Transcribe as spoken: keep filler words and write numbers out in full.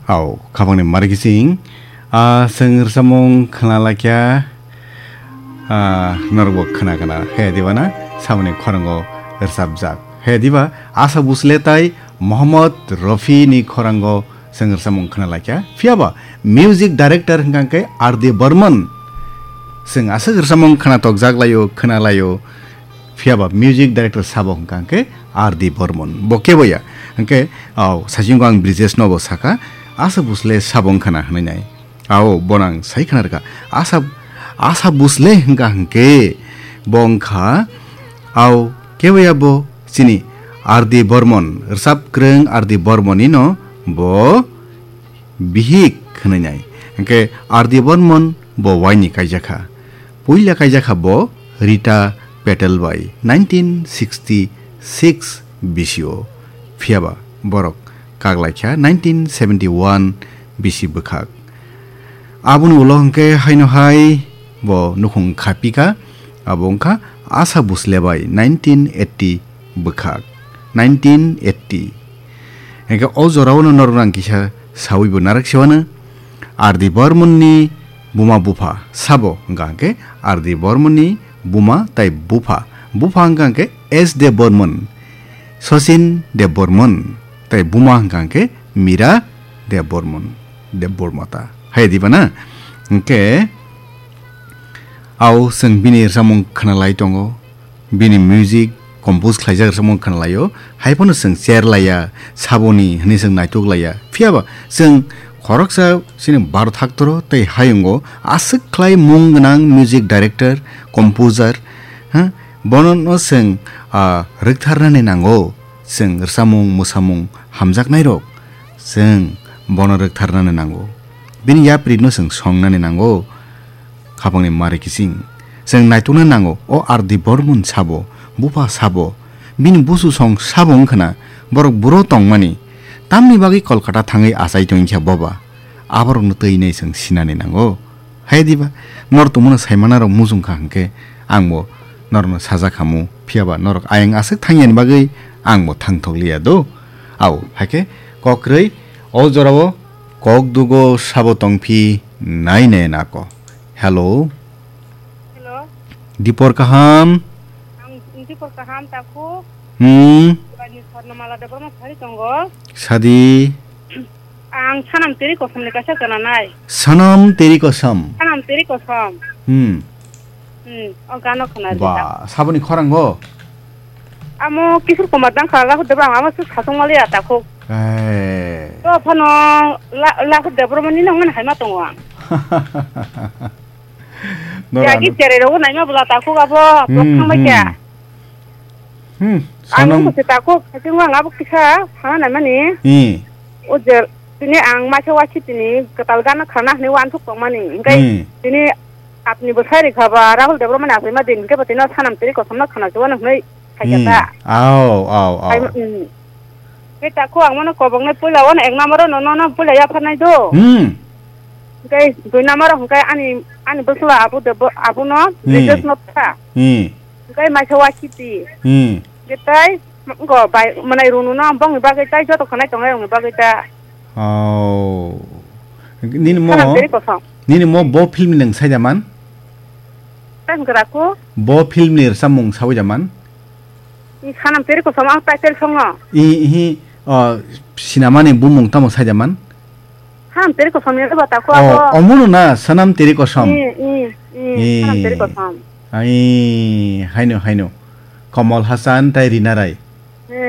Au, khapangni mari kising. Ah, chwng rwchapmung khna laikha. Ah, norokbo khna khna. He diba na? Saboni khorango rwchapjak. He diba? Asha Bhosle tai Mohammad Rafi ni khorango chwng rwchapmung khna laikha. Phiyaba music director hwnkha khe R D Burman. Chwng aswk rwchapmung khna tokjak laio, khna laio. Phiyaba music director sabo hwnkha khe R D Burman. Bo kebo ya. Hwnkhe, au, saichung ang Brijesh nobo saka, Asha Bhosle sabo wngkha na hwnwi nai. Ao, bono ang sai khna rwkha. Asha, Asha Bhosle hwnkha hwnkhe, bo wngkha, ao, kebo ya bo chini R D Burman, rwchap kwrwng R D Burman ni no bo bihik hwnwi nai. Hwnkhe R D Burman bo waini kaijakha. Puila kaijakha bo Rita Patel bai nineteen sixty six bisio. Phiyaba borok kaklaikha nineteen seventy one bisi bwkhak. Aboni ulo hwnkhe haino hai bo nukhung khapikha, abo wngkha Asha Bhosle bai nineteen eighty bwkhak, nineteen eighty. Hwnkhe o jorao no norok nang kisa sawi bo narak se wano. R D Burman ni buma bupha sabo hwnkha hwnkhe R D Burman ni buma tai bupha. Bupha hwnkha hwnkhe S Debbarman, Sachin Debbarman, tai buma hwnkha hwnkhe Meera Debbarman, Debbarma ta. Hai diba na? Hwnkhe, au chwng bini rwchapmung khna lai tongo. Bini music compose khlaijak rwchapmung khna laio. Hai phano chwng cher laiya, saboni hwnwi chwng naituk laiya. Phiyaba chwng khoroksa chini Bharat haktoro tei hayungo aswk khlai mung gwnang music director, composer, ha? Bono no chwng, ah, rwktharnani nango. Chwng rwchapmung, mwsamung hamjaknairok, chwng bono rwktharnani nango. Bini yapri no chwng songnani nango. Khapangni mari kiching. Chwng naitukna nango, o R D Burman sabo, bupha sabo, bini busu song sabo wngkhana, borok buro tongmani, tamni bagwi Kolkata thangwi achai tongkha boba, aborokno twi nai chwng sinani nango. Hai diba, nor tongmano saimanarok mujung kha hwnkhe, angbo norokno sajak hamu, phiyaba norok ayang aswk thangyani bagwi angbo thangthok liya do. Au, haikhe kokrwi o jorao kok dugo sabo tongphi nai nai nako. Hello. Hello. Dipor kaham? Ang Dipor kaham, takhuk. Hmm. Bani Swarnamala Debbarma sari tongo. Sadi. Ang Sanam Teri Kosom ni kaisa chana nai. Sanam Teri Kosom. Sanam Teri Kosom. Hmm. Hmm. O gano khna rijak. Ba, saboni khorang go? Amo Kishore Kumar Dangkha, Rahul Debbarma, amo suk sasong maliya takhuk. Eh. To phano La-, Rahul Debbarma ni nang mani haima tongo ang. Norano. Yagi tere rogo naima bwla takhuk abo, hmm, thangbai kha. Hmm. Hmm, ang sanam. Nokho se takhuk, haching ang abo kisa sana naimani. Hmm. O je, tini ang maisa wachi tini kwtal gana khana hwnwi uansuk tongmani. Hwnkhe, hmm, tini apni bwsai rikha ba Rahul Debbarma ni achaima din, hwnkhe bo tini Sanam Teri Kosom no khana chuano hwnwi. Hai kha ta. Hmm. Au, au, au. Hai, hmm. Khe takhuk ang mano koboknai puila wano ek number o no, no, no, puila yapharnai do. Hmm. Hwnkhe dui number o hwnkhe ani, ani bwsla abu de bo, abu no, hmm, Brijesh no ta. Hmm. Hwnkhe maisa wakhiti. Hmm. Khe tai, go bai, mwnai runu no, bongni bagwi tai, joto khwnai tongnai rokni bagwi ta. Oh. Nini mo, Sanam Teri Kosom. Nini mo bo film ni nwng saida man? Tai hwnkhe raku? Bo film ni rwchapmung sawi da man? I Sanam Teri Kosom ang title songo. I, ihi, o, sinamani bumung tamo saida man? Sanam Teri Kosom ni ba takhuk. Oh, abo. Omono na Sanam Teri Kosom. I, i, i, i. Sanam Teri Kosom. Ai, haino, haino. Kamal Hassan tai Rina Rai.